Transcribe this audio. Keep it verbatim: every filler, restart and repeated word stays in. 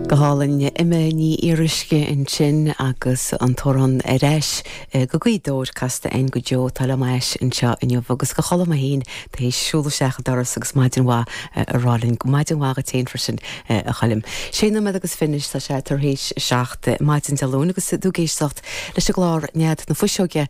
Go hálainn Emma Ní Fhíoruisce ansin agus an t-amhrán Ar ais go Gaoth Dobhair casta againn go deo tá le meis anseo inniu agus go chola héin tá siúl seach doras agus maidin mhaith a rá linn go maidin mhaith duit freisin a Choilm. Sé nóiméad agus fiche tá sé tar éis seacht maidin Dé Luain agus tú ag éisteacht leis an gclár Nead na Fuiseoige